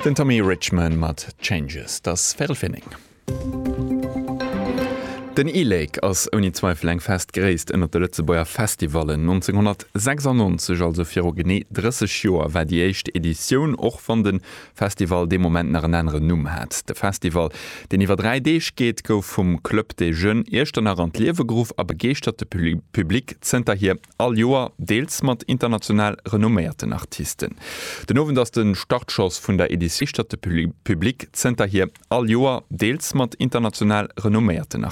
Den Tommy Richman mat Changes. 't ass véirel vir 9. Den e-Lake ass ouni Zweifel eng fest Gréisst ënnert de Lëtzebuerger Festivallen. 1996, also viru genee 30 Joer, war déi éischt Editioun, och wann de Festival dee Moment nach en aneren Numm hat. De Festival, deen iwwer 3 Deeg geet, gouf vum Club des Jeunes Iechternach an d'Liewe geruff a begeeschtert de Public zënterhier all Joer, deels mat international renomméierten Artisten. Den Owend ass de Startschoss vun der Editioun. Begeeschtert de Public zënterhier all Joer, deels mat international renomméierten.